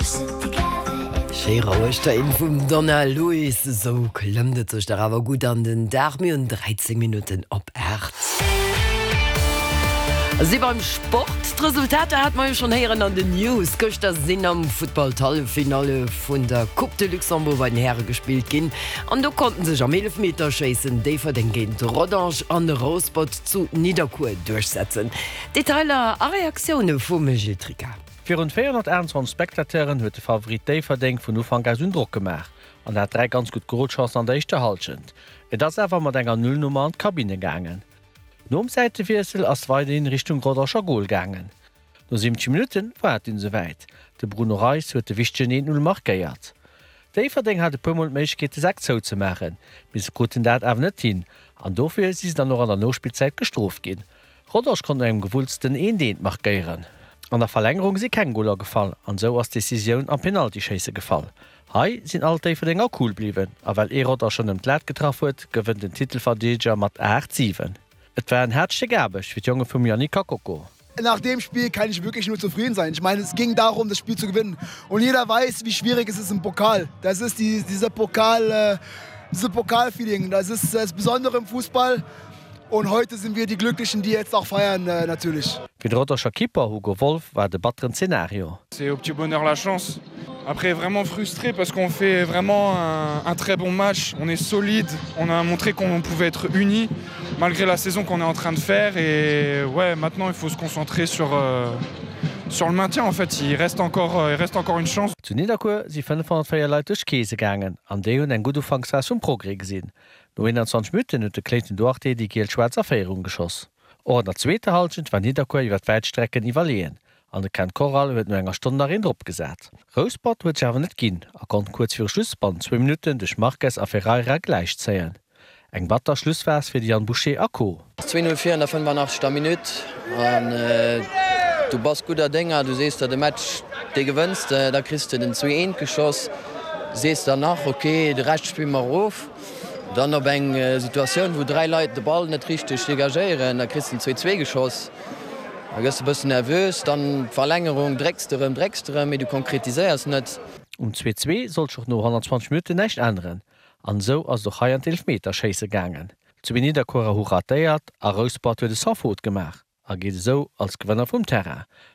Schéi roueg Téin vum Donna Lewis, esou klëmmt et sech dach awer gutt an den Dag. Mir hunn 13 Minutten op 8. Si beim Sport. D'Resultater hate mer jo schonn héieren an den News. Gëschter sinn am Futtball d'Halleffinalle vun der Coupe de Luxembourg bei den Häre gespillt ginn an do konnten sech am Eelefmeterschéissen Déifferdeng géint Rodange an Rouspert zu Nidderkuer duerchsetzen. Detailer a Reaktioune vum Gilles Tricca. Virun 428 Spectateuren huet de Favorit Déifferdeng vun Ufank aus un Drock gemaach an hat 3 ganz gutt Golchancen an der éischter Hallschent. Et ass awer mat enger Nullnummer an d'Kabinne gaangen. Nom Säitewiessel ass weiderhin Richtung Rodange a Gol gaangen. No 70 Minutten war et dunn esouwäit, de Bruno Reis huet de wichtegen 1-0 markéiert. Déifferdeng hat e puer Mol d'Méiglechkeet de Sak zouzemaachen, mee se kruten dat awer net hin an dofir si se dann och an der Nospillzäit gestrooft ginn. Rodange konnt no engem gewullsten Eent Eent markéieren. An der Verlängerung si keng Goler gefall an esou ass d'Decisioun am Penaltyschéisse gefall. Hei sinn all d'Déifferdenger cool bliwwen a well ee Rodanger nëmmen d'Lat getraff huet, gewënnt den Titelverdeedeger mat 8, 7. Et war en haart Stéck Aarbecht fir d'Jonge vum Yannick Kakoko. Nach dem Spiel kann ich wirklich nur zufrieden sein. Ich meine, es ging darum, das Spiel zu gewinnen. Und jeder weiß, wie schwierig es ist im Pokal. Das ist die, dieser Pokal, äh, diese Pokalfeeling. Das ist das Besondere im Fußball. Und heute sind wir die Glücklichen, die jetzt auch feiern äh, natürlich. Fir de Rodanger Keeper Hugo Wolf war et e batteren Zenario. C'est au petit bonheur la chance. Après vraiment frustré parce qu'on fait vraiment un, un très bon match, on est solide, on a montré qu'on pouvait être unis malgré la saison qu'on est en train de faire et ouais maintenant il faut se concentrer sur euh, sur le maintien en fait il reste encore euh, il reste encore une chance. Zu Nidderkuer si 504 Leit duerch d'Keese gaangen an déi hunn eng gutt Ufanksphas vum Progrès gesinn. No 21 Minutten huet de Clayton Duarte déi giel-schwaarz a Féierung geschoss. Och an der zweeter Hallschent war Nidderkuer iwwer wäit Strecken iwwerleeën an de Ken Corral huet no enger Stonn nach een drop gesat. Rouspert huet sech awer net ginn a konnt kuerz viru Schluss bannent zwou Minutten duerch Marques a Ferreira gläichzéien. Eng batter Schlussphas fir de Yann Boucher a Co. 2, 0 vir an der 85. Minutt an du bass gudder Dénger, du sees der de Match dee gewënns de, da kriss de den 2, 1 geschoss, sees der nach ok de Rescht spille mer erof. Dann op eng Situatioun, wou 3 Leit de Ball net richteg degagéieren, da kriss de den 2, 2 geschoss, da gëss de e bëssen nervös, dann d'Verlängerung, drécks de erëm, drécks de erëm, mee du konkretiséiers net. Um 2, 2 sollt sech och no 120 Minutten näischt änneren an esou ass et och hei an d'Eelfmeterschéisse gaangen. Zwee Nidderkuerer hu ratéiert a Rouspert huet e Sans-faute gemaach a geet esou als Gewënner vum Terrain.